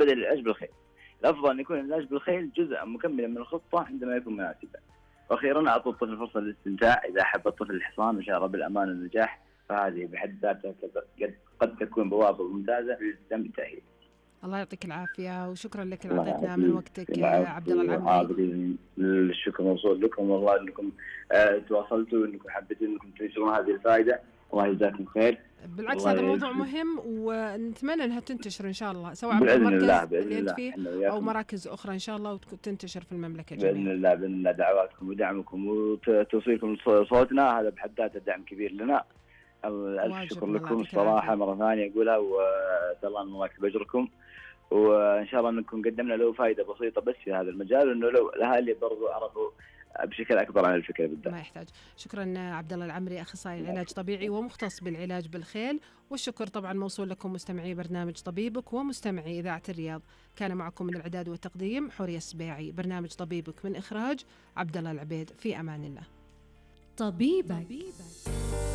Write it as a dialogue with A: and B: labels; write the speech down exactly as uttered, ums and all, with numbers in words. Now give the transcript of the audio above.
A: بدأ العلاج بالخيل. الأفضل أن يكون العلاج بالخيل جزء مكملا من الخطة عندما يكون مناسبا. وأخيرا أعطوا الطفل فرصة للاستمتاع، إذا أحب الطفل الحصان وشعر بالأمان والنجاح فهذه بحد ذاتها قد قد تكون بوابة ممتازة للاستمتاع.
B: الله يعطيك العافية وشكرا لك اللي أعطيتنا من وقتك يا عبد الله العمري.
A: الشكر موصول لكم والله أنكم آه تواصلتوا وأنكم حبيتوا أنكم تنشرون هذه الفائدة. الله يجزاكم خير.
B: بالعكس هذا موضوع مهم ونتمنى أنها تنتشر إن شاء الله، سواء عبر المركز اللي أنت فيه أو مراكز أخرى إن شاء الله وتنتشر في المملكة جميعا.
A: بإذن الله بإذن الله. دعواتكم ودعمكم وتوصيلكم صوتنا هذا بحد ذاته دعم كبير لنا. ألف شكر لكم الصراحة مرة ثانية أقولها، وأسأل الله أن الله يكتب أجركم، وإن شاء الله أنكم قدمنا له فائدة بسيطة بس في هذا المجال، وإنه لو الأهالي برضو عرفوا بشكل أكبر عن الفكرة بالذات.
B: ما يحتاج. شكرا عبد الله العمري، أخصائي العلاج طبيعي ومختص بالعلاج بالخيل، والشكر طبعا موصول لكم مستمعي برنامج طبيبك ومستمعي إذاعة الرياض. كان معكم من الإعداد والتقديم حورية السبيعي، برنامج طبيبك من إخراج عبد الله العبيد. في أمان الله.
C: طبيبك.